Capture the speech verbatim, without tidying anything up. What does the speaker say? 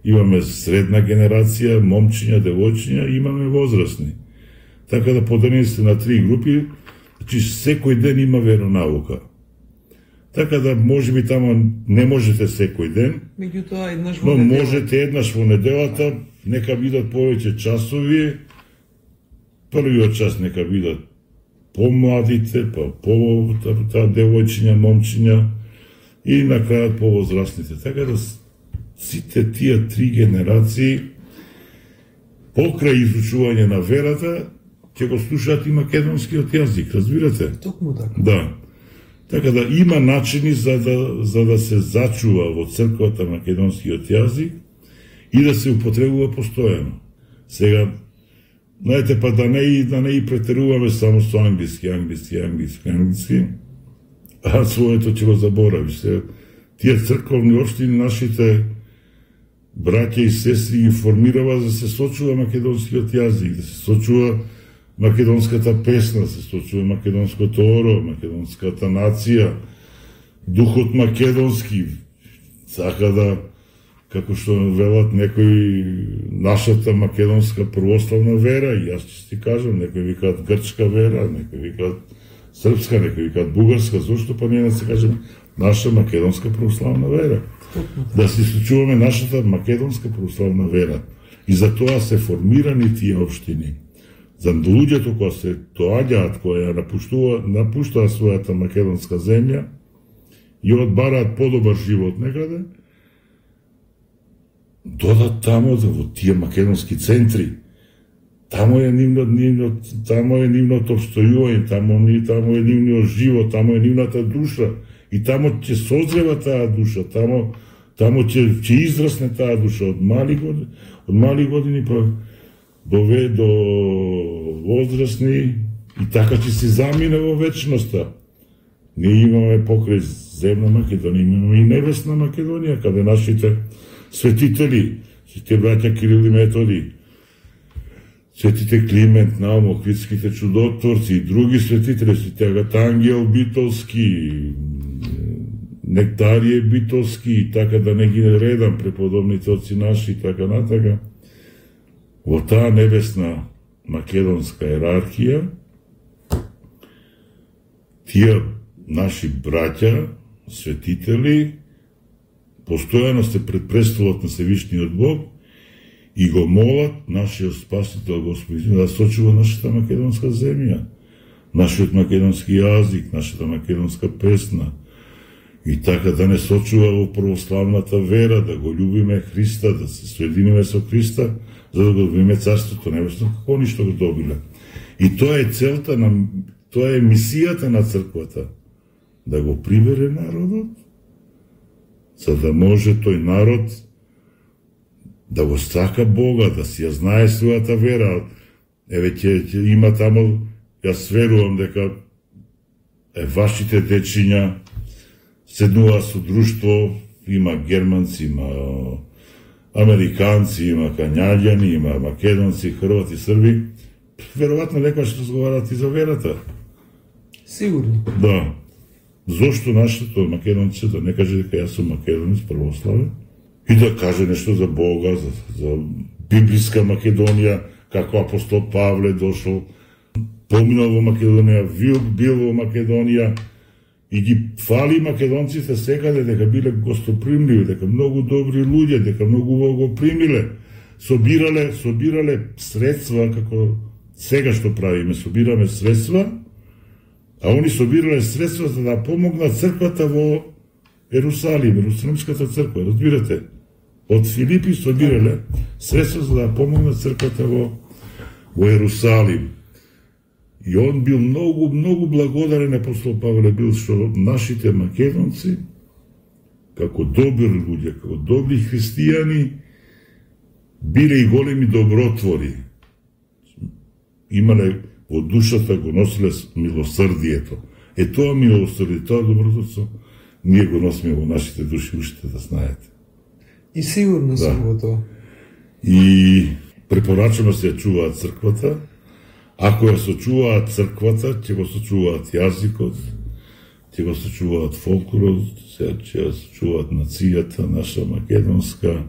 Имаме средна генерација, момчиња, девојчиња, имаме возрастни. Така да поделени сте на три групи, значи секој ден има веронаука. Така да можеби тамо не можете секој ден, меѓутоа еднаш во но неделата. можете еднаш во неделата, нека бидат повеќе часови. Првиот час нека бидат помладите, па по таа девојчиња, момчиња и на крајот повозрастните. Така да сите тие три генерации покрај изучување на верата ќе го слушаат и македонскиот јазик, разбирате? Токму така. Да. Така да има начини за да, за да се зачува во црквата македонскиот јазик и да се употребува постојано. Сега, знаете, па да не и, да не и претеруваме само со англиски, англиски, англиски, англиски, а своето ќе го заборавиш. Сега, тие црковни општини, нашите браќа и сестри ги формирава за да се сочува македонскиот јазик, да се сочува македонската песна, се сочува македонското оро, македонската нација, духот македонски, сака да, како што велат некои, нашата македонска православна вера, и јас ќе ти кажам, некои викаат грчка вера, некои викаат српска, некои викаат бугарска, зошто па ние да се кажеме наша македонска православна вера? Да се сочуваме нашата македонска православна вера. И за тоа се формирани тие општини. За луѓето кои се доаѓаат, кои ја напуштуваат, напуштаат својата македонска земја и одбараат подобар живот некаде, додат тамо во тие македонски центри. Тамо е нивно, нивно, тамо е нивното обстојување, тамо, тамо е нивниот живот, тамо е нивната душа и тамо ќе созрева таа душа, тамо тамо ќе ќе израсне таа душа од мали години, од мали години па до до возрастни и така ќе се замине во вечноста. Ние имаме покрај земна Македонија, имаме и небесна Македонија, каде нашите светители, сите браќа Кирил и Методи, светите Климент, Наум, Охридските чудотворци и други светители, сите Агатангел Битолски, Нектарije Битолски и така да не ги редам преподобните отци наши и така натака. Во таа небесна македонска иерархија, тие наши браќа, светители, постојано се пред престолот на Севишниот Бог и го молат нашиот Спасител Господин да сочува нашата македонска земја, нашиот македонски јазик, нашата македонска песна, и така да не сочува во православната вера, да го љубиме Христа, да се соединиме со Христа, за да го добиме Царството Небесно, како они што го добиле. И тоа е целта на, тоа е мисијата на црквата, да го прибере народот, за да може тој народ да го сака Бога, да си ја знае својата вера. Еве ќе, ќе има тамо, јас верувам дека е вашите дечиња седнува со друштво, има германци, има американци, има канјаѓани, има македонци, хрвати, срби. Веројатно некојаш разговарат и за верата. Сигурно. Да. Зошто нашето македонци да не каже дека јас сум македонец, православен, и да каже нешто за Бога, за, за библиска Македонија, како апостол Павле дошол, поминал во Македонија, бил, бил во Македонија, и ги фали македонците секаде дека биле гостопримливи, дека многу добри луѓе, дека многу го примиле, собирале, собирале средства, како сега што правиме, собираме средства, а они собирале средства за да помогнат црквата во Ерусалим, Ерусалимската црква, разбирате? Од Филипи собирале средства за да помогнат црквата во, во Ерусалим. И он бил многу, многу благодарен, апостол Павле бил, што нашите македонци, како добри луѓе, како добри христијани, биле и големи добротвори. Имале во душата, го носиле милосрдието. Е тоа милосрдие, тоа добротворство, ние го носиме во нашите души, уште да знаете. И сигурно сум да. Во тоа. И препорачано се ја чуваат црквата. Ако ја сочуваат црквата, ќе го сочуваат јазикот, ќе го сочуваат фолклорот, ќе ја сочуваат нацијата наша македонска,